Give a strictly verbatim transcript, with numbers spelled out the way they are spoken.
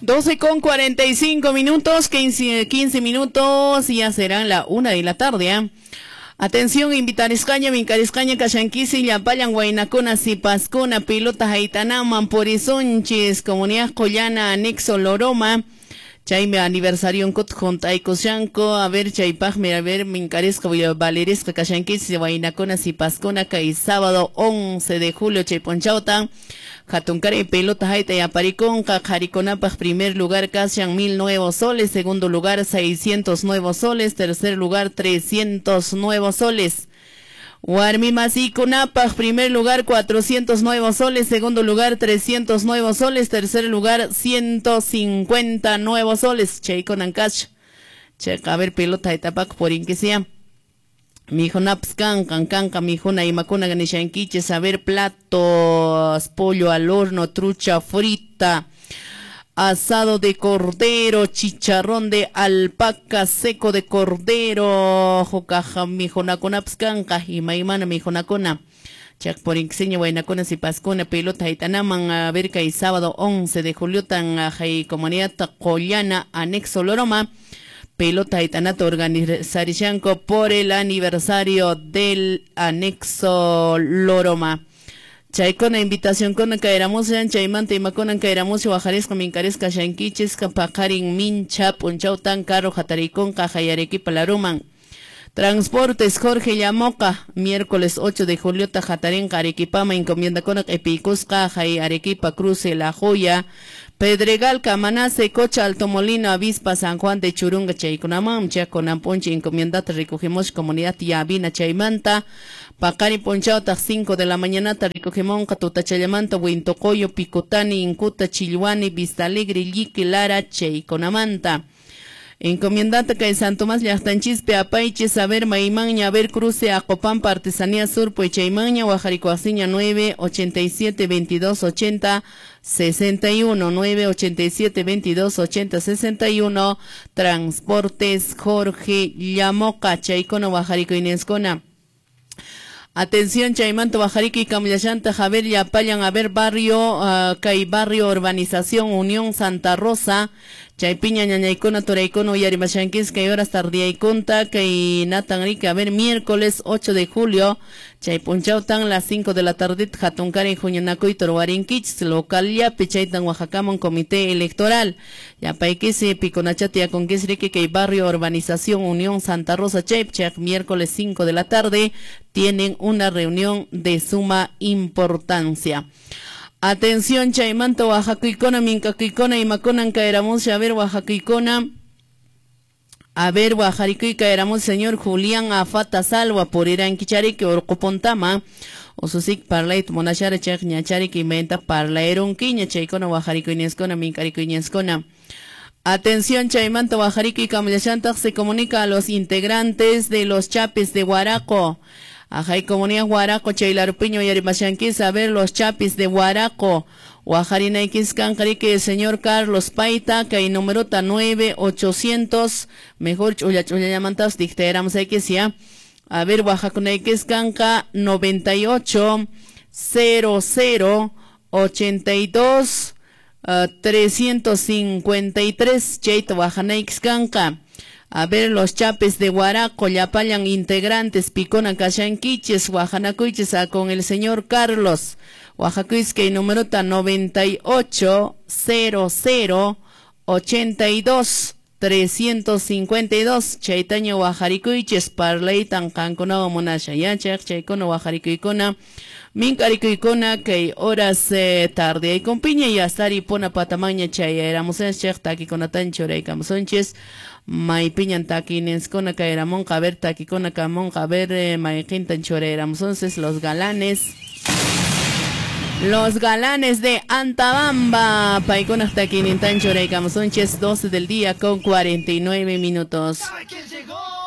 doce con cuarenta y cinco minutos, quince, quince minutos, y ya serán la una de la tarde, ¿eh? Atención, invitariscaña, mincariscaña, kashanquisi, llapallan, guaynacuna, sipascuna, pilota, haitanaman, porizonchis, comunidad Collana, anexo Loroma, chaymi aniversario nkut juntaykushanku, a ver, chaypaqmi, a ver, mincarisca, valerisca, kashanquisi, guaynacuna, sipaskuna, kay sábado once de julio, chayponchauta, Hatunkari pelota haita y apariconca, qharikunapaq primer lugar kashan mil nuevos soles, segundo lugar seiscientos nuevos soles, tercer lugar trescientos nuevos soles. Warmimasikunapaq primer lugar cuatrocientos nuevos soles, segundo lugar trescientos nuevos soles, tercer lugar ciento cincuenta nuevos soles. Chaykunan kasha. Chayqa, a ver, pelota haitapak porinquisia. Mijunapas kankan, kanka mijuna imakuna nishankichis, a ver, platos, pollo al horno, trucha frita, asado de cordero, chicharrón de alpaca, seco de cordero, jocaja mijunakunapas kanka, imaymana mijunakuna. Chakporinxiña, guaynakuna, sipaskuna, pelota haitanaman, a ver, kay sábado once de julio, tan ajay comunidad Collana, anexo Loroma. Pelota haitanato organizarishanko por el aniversario del anexo Loroma. Chaykuna invitación con caeramos chaymanta imakuna caeramos wajarisqa minkarisqa shankichis paqarin mincha punchawtan carro hatarikunqa hayarequipa laruman. Transportes Jorge Llamoca, miércoles ocho de julio hatarinqa Arequipama encomienda con epikusqa hay Arequipa Cruce La Joya, Pedregal, Camanase, Cocha, Alto Molino, Avispa, San Juan de Churunga, Chaykunamam, Chaconamponche, encomiendata, recogemos comunidad Yavina, Chaymanta, Pacari Ponchauta, cinco de la mañana, recogemonca, Tutachayamanta, Huintocoyo, Picotani, Incuta, Chilhuani, Vista Alegre, Lique, Lara, Chayconamanta. Encomiendata que San Tomás Llaqtanchispi Apaiche, Saber Maimaña, Ver Cruce, Acopampa, Artesanía Sur, Puechaimaña, Guajaricoaciña, nueve ochenta y siete veintidós ochenta sesenta y uno, nueve ochenta y siete veintidós ochenta sesenta y uno, Transportes Jorge Llamoca, Chaycono, Guajarico Inescona. Atención, Chaymanto, Bajarico y Camillanta, Javier Yapayan, a ver, barrio, uh, Cay Barrio, Urbanización, Unión, Santa Rosa, Chaypiña, Ñañaicona, Toraicono, Yarimashanquis, que horas tardía y conta, Cay Natan Rica, a ver, miércoles ocho de julio, Chaypunchautan, las cinco de la tarde, Jatuncari, Juñanacoy, Torwarinquich, local Yapi, Chaytan, Oaxacamon, Comité Electoral, Yapaiquisi, Piconachati, Aconquis, Rique, Cay Barrio, Urbanización, Unión, Santa Rosa, Chaypchak, miércoles cinco de la tarde, tienen una reunión de suma importancia. Atención, Chaymanto, Oaxacuicona, Mincacuicona, Imaconan, Caeramos, a ver, Oaxacuicona, a ver, Oaxaricuy, Caeramos, señor Julián Afata Salva, por Irán Quicharique, Orcopontama, Osusic, Parlait, Monachara, Chach, Ñacharique, Imenta, Parlaeronquiña, Chaicona, Oaxaricuinescona, Mincaricuinescona. Atención, Chaymanto, Oaxarico y Camillachantag, se comunica a los integrantes de los Chapis de Huaraco. Ajay, comunidad Huaraco, Chaylarupiño y Arimashanquis, a ver los Chapis de Huaraco. Oaxarinaikis, Cancarique, señor Carlos Paita, que numerota nueve ochocientos, mejor chulla chulla llamantas, dictéramos X ya. A ver, Oaxacunaikis, Canca, noventa y ocho, cero cero, ochenta y dos, uh, trescientos cincuenta y tres, Cheito, Oaxanaikis, Canca. A ver, los Chapes de Huaraco, Yapayan, integrantes, Picona, Cachanquiches, Oaxanacuiches, a con el señor Carlos. Oaxacuisque, numerota noventa y ocho, cero cero, ochenta y dos, trescientos cincuenta y dos, Chaitaño, Oaxaricuiches, Parleitan, Cancunao, Monasha, Yachak, Chaycono, Oaxaricuicona, Mincaricuicona, que horas eh, tarde, y con piña y astari, pona patamaña, chayeramos, chek, taquiconatan, choreicamosonches, Maipiñan taquinenscona, caeramón, caber, taquicona, camón, caber, eh, maiquintan, choreramosonces, los galanes. Los galanes de Antabamba, Paicona hasta quinintan, choreicamosonches, doce del día con cuarenta y nueve minutos. ¿Sabe quién llegó?